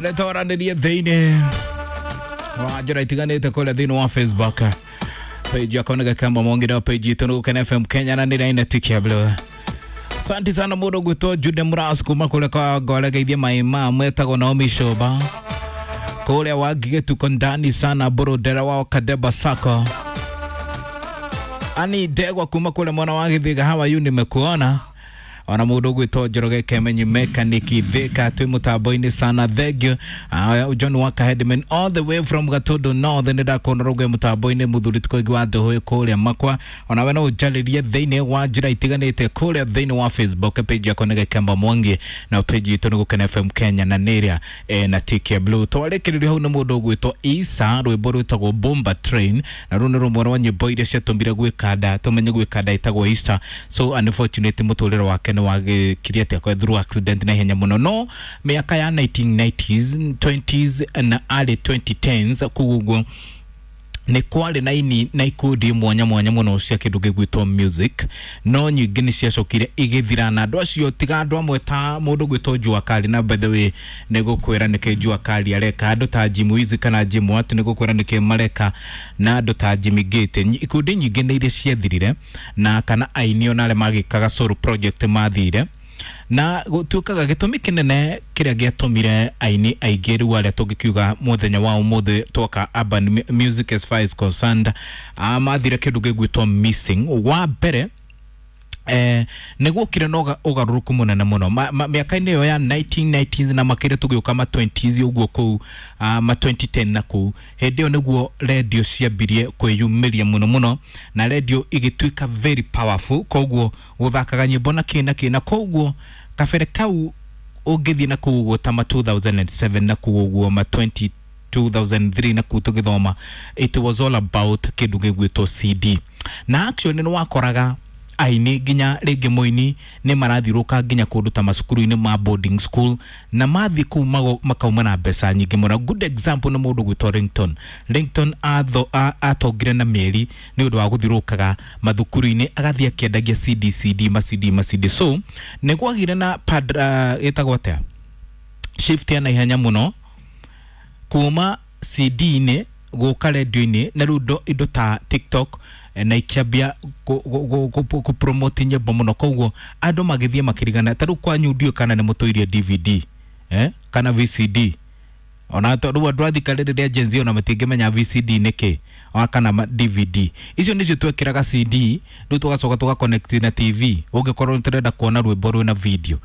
Nĩtwaranĩrie thĩinĩ wa njĩra itiganĩte kũrĩa thĩinĩ wa Facebook page yakwa nĩ Gakamba Mwangi na page itũ nĩ Gũkena FM Kenya na nĩ raina tikia blue. Asante sana mũndũ gwĩtwo Jude Muras kuma kũrĩa kwa Ngore geithie maĩ ma mwetagwo Naomi Shoba kũrĩa Wangigĩ tuko ndani sana Burudera wao Kadeba Sako Ani Ndegwa kuma kũrĩa mwena wa Githiga hawa yu nimekuona ona mundu gwitwo Njoroge Kemenyi mechanic Thika twi mutambo-ini sana thank you. John Waka Headman all the way from Gatondo North nĩ ndakuona rũgwe mutambo-ini muthuri tikoingi wa ndũhũĩ kũrĩa makwa ona we no ũnjarĩrie thĩinĩ wa njĩra itiganĩte kũrĩa thĩinĩ wa Facebook page yakwa nĩ Gakemba Mwangi na page itũ nĩ Gũkena FM Kenya na nĩrĩa na TK Blue twarĩkĩrĩrio hau nĩ mũndũ ũgwĩtwo Isa rwĩmbo rwĩtagwo Bomba Train na rũu nĩ rũmwe rwa nyĩmbo iria ciatũmire gwĩkanda tũmenye gwĩkanda ĩtagwo Isa. So unfortunately mũtũrĩre wake nĩ wagĩkirie atĩ akwe through accident na ihenya mũno no mĩaka ya 1990s 20s na early 2010s kũu ũguo nĩ kwarĩ na ini na ikundi mwanya mwanya mũno cia kĩndũ gĩgwĩtwo music no nyingĩ nĩ ciacokire igĩthira na andũ acio tiga andũ amwe ta mũndũ gwĩtwo Jua Kali na by the way nĩ gũkwĩra nĩkĩ Jua Kali areka andũ ta Jim Wiz kana Jim Watt nĩ gũkwĩra nĩkĩ mareka na andũ ta Jimmy Gate. Ikundi nyingĩ nĩ iria ciathirire na kana aini ona arĩa magĩkaga solo project mathire na gũtuĩkaga gĩtũmi kĩnene kĩrĩa gĩatũmire aini aingĩ rĩu arĩa tũngĩkiuga mũthenya wa ũmũthĩ twoka urban music as far as concerned mathire kĩndũ gĩgwĩtwo missing wa mbere nĩ guokire na ũgarũrũku mũnene mũno mĩaka-inĩ ĩyo ya 1990s na makĩria tũgĩũka ma 20s ũguo kũu ma 2010 na kũu hĩndĩ ĩyo nĩguo redio ciambirie kwĩyumĩria mũno mũno na redio igĩtuĩka very powerful koguo gũthakaga nyĩmbo na kĩ na kĩ na koguo kabere kau ũngĩthiĩ na kũu ũguo ta ma 2007 na kũu ũguo ma 20 2003 na kũu tũgĩthoma it was all about kĩndũ gĩgwĩtwo CD na actually nĩ wakoraga aini nginya rĩngĩ mũini nĩ marathiũrũka nginya kũndũ ta macukuru-inĩ ma boarding school na mathiĩ kũu makauma na mbeca nyingĩ mũno. Good example nĩ mũndũ gwĩtwo Ringtone. Ringtone atongire na mĩeri nĩ ũndũ wa gũthiũrũkaga mathukuru-inĩ agathiĩ akĩendagia CD CD ma CD ma CD. So nĩ gwagire na pad ĩtagwo atĩa shift ya naihenya mũno kuma CD-inĩ gũka radio-inĩ na rĩu indo ta TikTok na ikĩambia kũpromote nyĩmbo mũno koguo andũ magĩthiĩ makĩrigana ta rĩu kwanyu ndiũĩ kana nĩ mũtũirie DVD kana VCD ona rĩu andũ a thika rĩrĩ rĩa Gen Z ona matingĩmenya VCD nĩ kĩ ona kana DVD icio nĩcio twekĩraga CD rĩu tũgacoka tũga connect na TV ũngĩkorwo tũrenda kuona rwĩmbo rwĩna video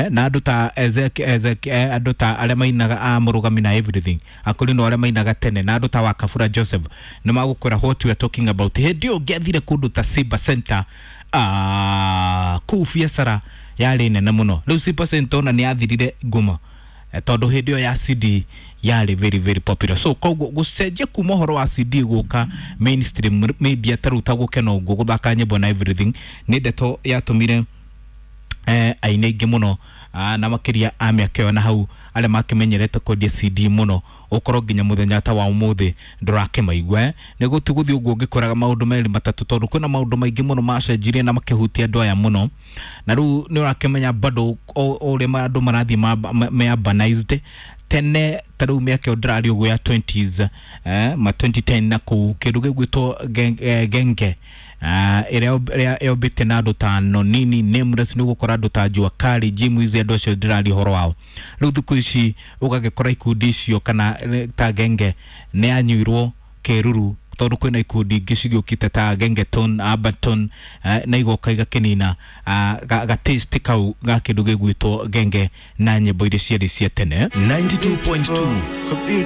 na andũ ta Ezek andũ ta arĩa mainaga a mũrũgami na everything akũrinũ arĩa mainaga tene na andũ ta Wakabura Joseph nĩ magũkwĩra what we are talking about hĩndĩ ĩyo ũngĩathire kũndũ ta Simba Center kũu biacara yarĩ nene mũno rĩu Simba Center ona nĩ yathirire ngumo tondũ hĩndĩ ĩyo ya CD yarĩ very very popular so koguo gũcenjia kuma ũhoro wa CD gũka mainstream media ta rĩu ta Gũkena ũguo gũthaka nyĩmbo na everything nĩ ndeto yatũmire aini aingĩ mũno na makĩria a mĩaka ĩyo na hau arĩa makĩmenyerete kwendia CD mũno ũkorwo nginya mũthenya ta wa ũmũthĩ ndũrakĩmaigua nĩ gũti gũthiĩ ũguo ũngĩkoraga maũndũ merĩ matatũ tondũ kwĩna maũndũ maingĩ mũno macenjirie na makĩhutia andũ aya mũno na rĩu nĩ ũrakĩmenya bado ũrĩa andũ marathiĩ me urbanized tene ta rĩu mĩaka ĩyo ndĩraria ũguo ya 20s ma 2010 na kũu kĩndũ gĩgwĩtwo genge ĩrĩa yombĩte na andũ ta Nonini Nameless nĩ ũgũkora andũ ta Jua Kali Jim Wiz andũ acio ndĩraria ũhoro wao rĩu thikũ ici ũgagĩkora ikundi icio kana ta genge nĩ yanyuirwo kĩruru tondũ kwĩna ikundi ingĩ cigĩũkĩte ta Gengeton Abaton na igoka igakĩnina ga taste kau ga kĩndũ gĩgwĩtwo genge na nyĩmbo iria ciarĩ cia tene. 92.2.